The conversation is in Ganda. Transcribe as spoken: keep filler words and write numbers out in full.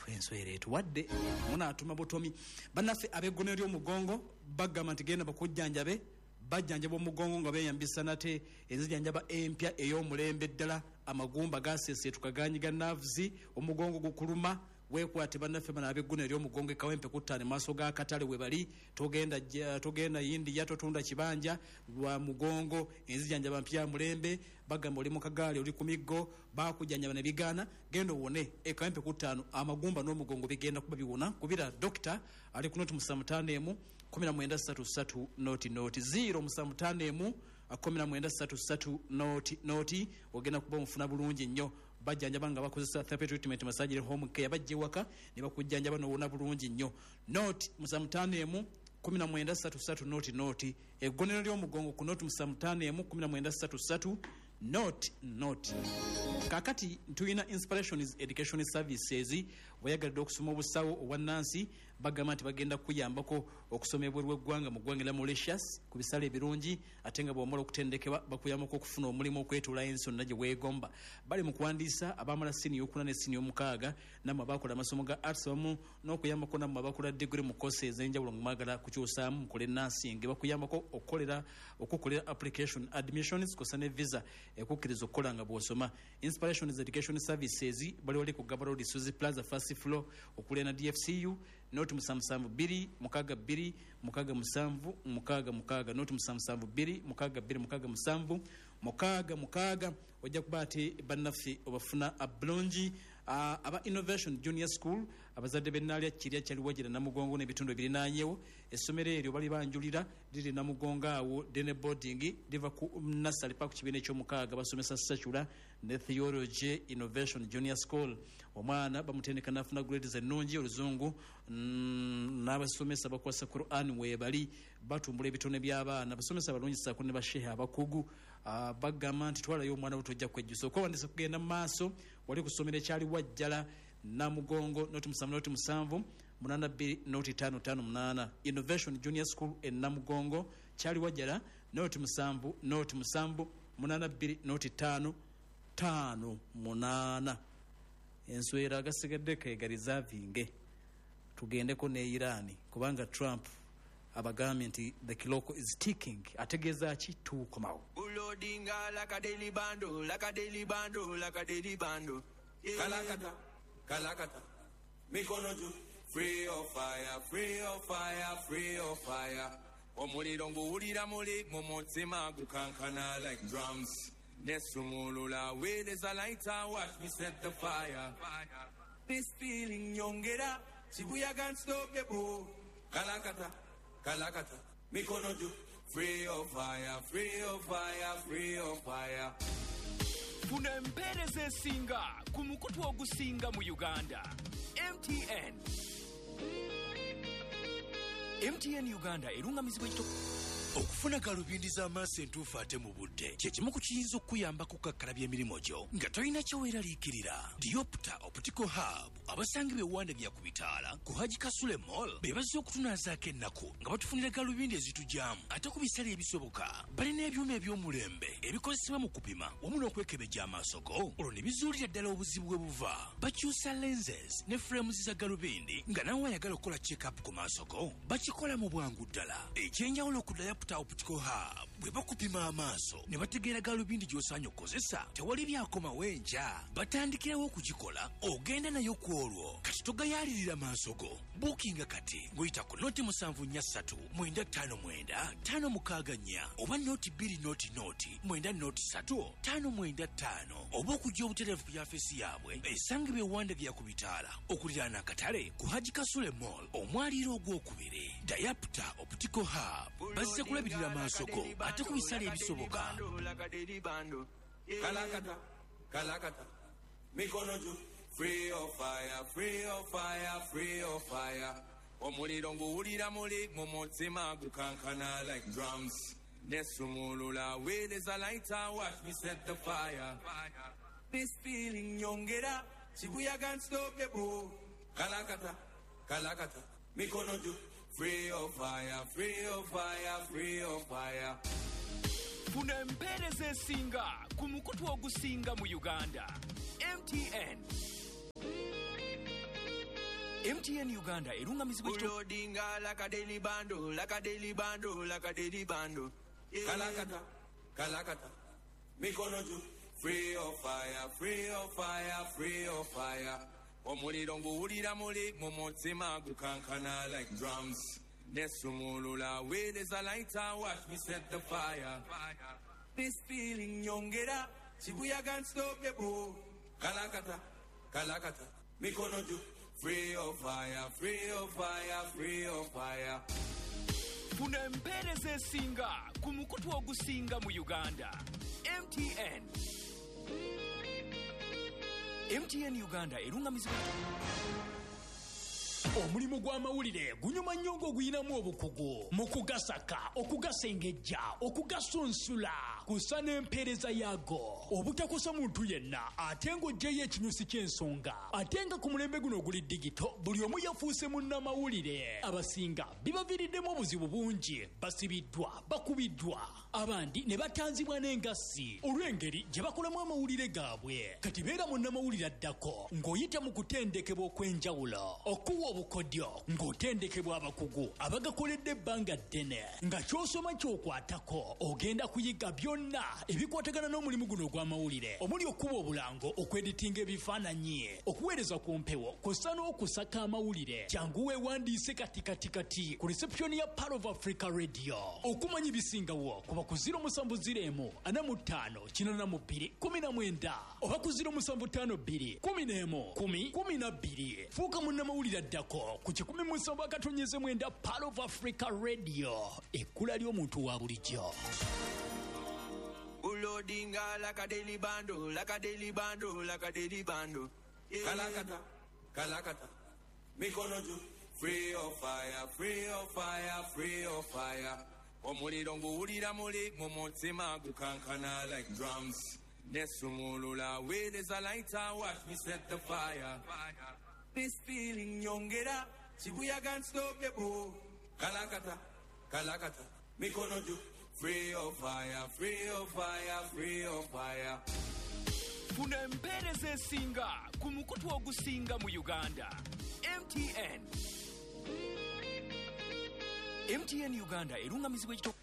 Enswera etuwadde munaatuma butomi. Bannaffe ab'eggono ly'omugongo bagamba nti genda bakujjanjabe, bajjanjaba omugongo nga beeyambisa nate enzijanjaba empya ey'omulembe ddala. Amagumba gaseeseetuka, ganyiga nerves, omugongo gukuluma, weekwate bannaffe bano ab'eggono ery'omugongo e Kawempe kuttaano maaso ga katale we bali. Togenda togenda India, totunda kibanja lwa mugongo. Enzijanjaba mpya mulembe. Bagamba oli mu kagaali, oli ku miggo, bakujjanjaba ne bigaana, genda owone e Kawempe kuttaano, amagumba n'omugongo bigenda kuba biwona. Kubira dokita ali ku noti musanvu ttaano emu kumi na mwenda ssatu ssatu noti noti, ziro musanvu ttaano emu kumi na mwenda ssatu ssatu noti noti, ogenda kuba omufuna bulungi nnyo. Bajjanjaba nga bakozesa therapy treatment, massage, home care, bajja ewaka ne bakujjanjaba n'owona bulungi nnyo. Noti musanvu ttaano emu kumi na mwenda ssatu ssatu noti noti, eggonero ly'omugongo ku noti musanvu ttaano emu kumi na mwenda ssatu ssatu noti noti. Kakati tulina Inspirations Education Services. Weyagalidde okusoma obusawo, obwannansi, bagamba nti bagenda kuyambako okusoma ebweru w'eggwanga mu ggwanga lya Mauritius ku bisale ebirungi, ate nga bw'omala okutendekebwa bakuyambako okufuna omulimu okwetoola ensi yonna gye weegomba. Bali mu kuwandiisa abamala siniya okuna ne siniya omukaaga, nammwe abakola amasomo ga arts, wamu n'okuyambako nammwe abakola degree mu course ez'enjawulo nga mwagala kukyusaamu mukole nursing. Bakuyambako okukolera okukolera application, admissions kw'ossa ne visa ekukkiriza okukola nga bw'osoma. Inspirations Education Services bali wali ku Gaba Road, Suzy Plaza, first floor, okuliraana D F C U. Noti musanvu musanvu bbiri mukaaga bbiri mukaaga musanvu mukaaga mukaaga, noti musanvu musanvu bbiri mukaaga bbiri mukaaga musanvu mukaaga mukaaga, ojja kuba ate bannaffe obafuna bulungi. Aba Innovation Junior School, abazadde b'ennaalya kirya kyaliwagira Namugongo n'ebitundu ebirinaanyewo, essomero eryo bali banjulira, liri Namugongo awo day ne boarding, liva ku nursery paka ku kibiina ekyomukaaga, basomesa secular ne theology. Innovation Junior School, omwana bamutendeka nafuna grades ennungi, oluzungu mm, n'abasomesa bakwasa Quran weebali, batumbula ebitone by'abaana, abasomesa balungi saako ne bashehe abakugu. uh, bagamba nti twalayo omwana wo, tojja kwejjusa. Okwewandisa kugenda mu maaso wali ku ssomero ekyali Wajjala Namugongo, noti musanvu noti musanvu munaana bbiri noti ttaano ttaano munaana. Innovation Junior School e Namugongo, kyali Wajjala, noti musanvu noti musanvu munaana bbiri noti ttaano ttaano munaana. Enswera agasigadde kegalizavinge, tugendeko ne Iran, kubanga Trump abagambye nti the clock is ticking. Ategeeza ki? Tukomawo. Ulodinga like a daily bando, like a daily bando, like a daily bando. Kalakata, kalakata, mikono juu. Free of fire, free of fire, free of fire. Omuliro nguwulira muli mu mutima gukankana like drums. Nesumulula with a lighter, watch me set the fire. This feeling nyongera, Shibuya unstoppable. Kalakata, kalakata, mikono juu. Free of fire, free of fire, free of fire. Funa empeereza esinga ku mukutu ogusinga mu Uganda, M T N. M T N Uganda erungamizibwa ekito. Okufuna galubindi z'amaaso entuufu ate mu budde kye kimu ku kiyinza okukuyamba kukakkalabya emirimu gyo nga tolina kyeweeraliikirira. Diopta Optical Hub abasangibwa ewanda ku bitaala ku Haji Kasule Mall be bazze okutunaazaako ennaku nga batufunira galubindi ezitugyamu ate ku bisale ebisoboka. Balina ebyuma eby'omulembe ebikozesebwa mu kupima wamu n'okwekebejja amaaso go, olwo ne bizuulira ddala obuzibu bwe buva. Bakyusa lenses ne frames za galubindi, nga nawe ayagala okukola check-up ku maaso go bakikola mu bwangu ddala. Ekyenjawulo ku Diopta Optical Hub, bwe bakupima amaaso ne bategeera galubindi gy'osaanye okukozesa, tewali byakomawo enkya, batandikirawo okugikola, ogenda nayo ku olwo. Kati togayaalirira maaso go, buukinga kati ng'oyita ku noti musanvu nnya ssatu mwenda ttaano mwenda ttaano mukaaga nnya oba noti bbiri noti noti mwenda noti ssatu ttaano mwenda ttaano, oba okujja obutereevu ku yafeesi yaabwe esangibwa ewanda bya ku bitaala okuliraana akatale ku Haji Kasule Mall, omwaliiro ogwokubiri. Diopta Optical Hub bazze kulabirira maaso go ate ku bisale ebisoboka. Kalakata, kalakata, mikono juu. Free of fire, free of fire, free of fire. Omuliro nguwulira muli mu mutima gukankana like drums. Nesumulula with a lighter, watch me set the fire. This feeling nyongera, Shibuya unstoppable. Kalakata, kalakata, mikono juu. Free of fire, free of fire, free of fire. Funa empeereza esinga ku mukutu ogusinga mu Uganda, M T N. M T N Uganda erungamizibwa ekito- Loadinga like a daily bundle, like a daily bundle, like a daily bundle. Yeah. Kalakata, kalakata, mikono juu. Free of fire, free of fire, free of fire. Omuliro nguwulira muli mu mutima gukankana like drums. Nesumulula weereza lighter, watch me set the fire. This feeling nyongera, kibuyaga unstoppable. Kalakata, kalakata, mikono juu. Free of fire, free of fire, free of fire. Funa empeereza esinga ku mukutu ogusinga mu Uganda. M T N. M T N Uganda erungamizibwa. Omulimu gw'amawulire gunyuma nnyo ng'oguyinamu obukugu mu kugasaka, okugasengejja, okugasunsula, kusa n'empeereza yaago, obutakosa muntu yenna ate ng'oggyeyo ekinyusi ky'ensonga. Ate nga ku mulembe guno oguli digito, buli omu yafuuse munnamawulire. Abasinga bibaviiriddemu obuzibu bungi, basibiddwa, bakubiddwa, abandi ne batanzibwa n'engassi olw'engeri gye bakolamu amawulire gaabwe. Kati beera munnamawulire addako ng'oyita mu kutendekebwa okw'enjawulo, okuwa obukodyo ng'otendekebwa abakugu abagakoledde ebbanga ddene, nga ky'osoma ky'okwatako ogenda kuyiga byonna ebikwatagana n'omulimu guno ogw'amawulire, omuli okuba obulango, okweditinga ebifaananyi, okuweereza ku mpewo, kw'ossa n'okusaka amawulire. Jangu weewandiise kati kati kati ku reception ya Pearl of Africa Radio. Okumanya ebisingawo kuba ku ziro musanvu ziro emu ana mu ttaano kinaana mu bbiri kumi na mwenda oba ku ziro musanvu ttaano bbiri kumi n'emu kumi kumi na bbiri. Fuuka munnamawulire addako ku kikumi mu musanvu akatonyeze mwenda Pearl of Africa Radio, ekkula ly'omuntu wa bulijjo. Loadinga like a daily bundle, like a daily bundle, like a daily bundle. Yeah. Kalakata, kalakata, mikono juu. Free of fire, free of fire, free of fire. Omuliro nguwulira muli mu mutima gukankana like drums. Nesumulula weereza lighter, watch me set the fire. This feeling nyongera, kibuyaga unstoppable. Kalakata, kalakata, mikono juu. Free of fire, free of fire, free of fire. Funa empeereza esinga ku mukutu ogusinga mu Uganda. M T N. M T N Uganda erungamizibwa ekito-